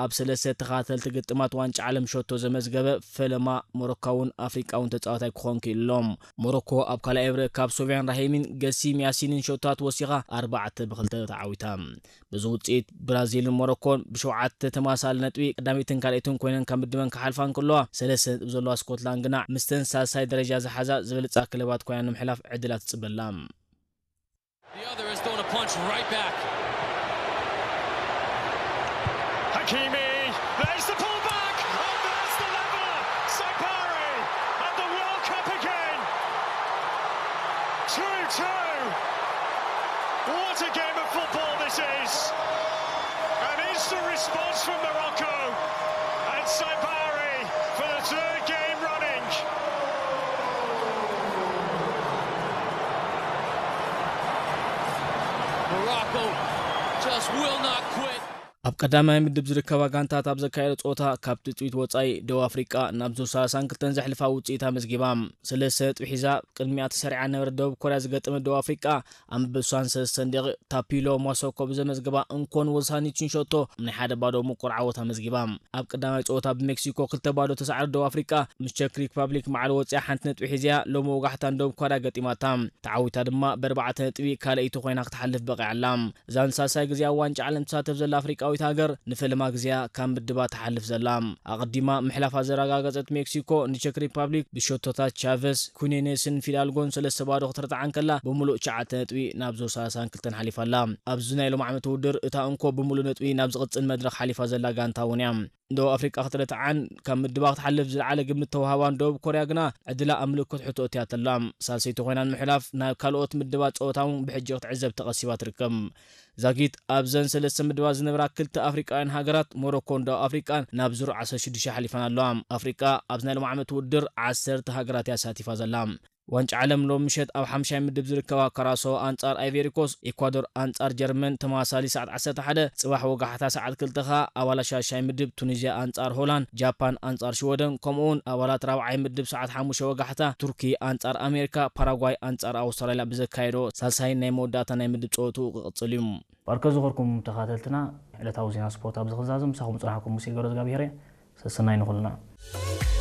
ኣብ ሰለስተ ተኸታተልቲ ግጥማት ዋንጫ ዓለም ሸቶ ዘመዝገበ ፈለማ ሞሮካውን ኣፍሪቃውን ተጻዋታይ ክኾን ክኢሉ ኣሎ። ሞሮኮ ኣብ ካልኣይ እብረ ካብ ሶፊያን ራሂሚን ገሲም ያሲንን ሸቶታት ወሲኻ ኣርባዕተ ብክልተ ተዓዊታ። በዚ ውጽኢት ብራዚልን ሞሮኮን ብሸውዓተ ተመሳሳሊ ነጥቢ ቀዳመይትን ካልኣይትን ኮይነን ካብ ምድበን ክሓልፋ እንከለዋ፣ ሰለስተ ነጥቢ ዘለዋ ስኮትላንድ ግና ምስተን ሳልሳይ ደረጃ ዝሓዛ ዝበለጻ ክለባት ኮይና ንምሕላፍ ዕድላት ትጽበላ። The other has thrown a punch right back. Hakimi, there's the pullback, and there's the leveller. Saibari and the World Cup again. two two. What a game of football this is. An instant response from Morocco. And Saibari for the third game running. Morocco just will not quit. ኣብ ቀዳማይ ምድብ ዝርከባ ጋንታት ኣብ ዘካየዶ ጸወታ ካብ ትጽቢት ወጻኢ ደቡብ ኣፍሪቃ ናብ ዙር ሰላሳን ክልተን ዘሕልፋ ውጽኢት ኣመዝጊባ። ሰለስተ ነጥቢ ሒዛ ቅድሚኣ ተሰሪዓ ነበረ ደቡብ ኮርያ ዝገጠመት ደቡብ ኣፍሪቃ ኣብ መበል ሰለስተን ደቂቕ ታፒሎ ሞሶኮ ብዘመዝገባ እንኮን ወሳኒትን ሸቶ ናይ ሓደ ባዶ ምቁር ዓወት ኣመዝጊባ። ኣብ ቀዳማይ ጸወታ ብሜክሲኮ ክልተ ባዶ ተሳዕረ ደቡብ ኣፍሪቃ ምስ ቸክ ሪፓብሊክ ማዕረ ወጺኣ ሓንቲ ነጥቢ ሒዝያ ሎሚ ወጋሕታን ደቡብ ኮርያ ገጢማታ። ተዓዊታ ድማ ብኣርባዕተ ነጥቢ ካልኣይቲ ኮይና ክትሓልፍ በቂዓ ኣላ። እዛ ንሳልሳይ ግዜ ኣብ ዋንጫ ዓለም ትሳተፍ ዘላ ኣፍሪቃዊት ሃገር ንፈለማ ግዜያ ካብ ምድባ ትሓልፍ ዘላ። ኣቐዲማ ምሕላፋ ዘረጋገጸት ሜክሲኮ ንቸክ ሪፓብሊክ ብሸቶታት ቻቨስ፣ ኩኔኔስን ፊዳልጎን ሰለስተ ባዶ ክትርትዓ እንከላ ብምሉእ ትሽዓተ ነጥቢ ናብ ዙር ሰላሳን ክልተን ሓሊፋ ኣላ። ኣብዚ ናይ ሎም ዓመት ውድድር እታ እንኮ ብምሉእ ነጥቢ ናብ ዝቕጽል መድረኽ ሓሊፋ ዘላ ጋንታ እውን እያ። ደቡብ ኣፍሪቃ ክትርትዓን ካብ ምድባ ክትሓልፍ ዝለዓለ ግምት ተዋህባን ደቡብ ኮርያ ግና ዕድላ ኣብ ምልክት ሕቶ እትያቶ ኣላ። ሳልሰይቲ ኮይና ንምሕላፍ ናብ ካልኦት ምድባት ጸወታ እውን ብሕጂ ክትዕዘብ ተቐሲባ ትርከብ። ዛጊት ኣብዘን ሰለስተ ምድባት ዝነበራ ክልተ ኣፍሪቃውያን ሃገራት ሞሮኮን ደቡብ ኣፍሪቃን ናብ ዙር ዓሰርተ ሽዱሽተ ሓሊፈን ኣለዋ። ኣፍሪቃ ኣብዚ ናይ ሎም ዓመት ውድድር ዓሰርተ ሃገራት እያ ኣሳቲፋ ዘላ። ዋንጫ ዓለም ሎም ምሸት ኣብ ሓምሻይ ምድብ ዝርከባ ካራሶ ኣንጻር ኣይቬሪኮስ፣ ኤኳዶር ኣንጻር ጀርመን ተመሳሳሊ ሰዓት ዓሰርተ ሓደ፣ ጽባሕ ወጋሕታ ሰዓት ክልተ ከኣ ኣባላት ሻሻይ ምድብ ቱኒዝያ ኣንጻር ሆላንድ፣ ጃፓን ኣንጻር ሽወደን ከምኡውን ኣባላት ራብዓይ ምድብ ሰዓት ሓሙሽተ ወጋሕታ ቱርኪ ኣንጻር ኣሜሪካ፣ ፓራጓይ ኣንጻር ኣውስትራልያ ብዘካየዶ ሳልሳይን ናይ መወዳእታ ናይ ምድብ ጸወትኡ ክቕጽል እዩ። ባርከ ዝኸርኩም ተኻተልትና ዕለታዊ ዜና ስፖርት ኣብዚ ክዛዝም ምሳኹም ዝጸናሕኩም ሙሴ ገብረዝጋብሄር እየ። ሰሰናይ ንኹልና።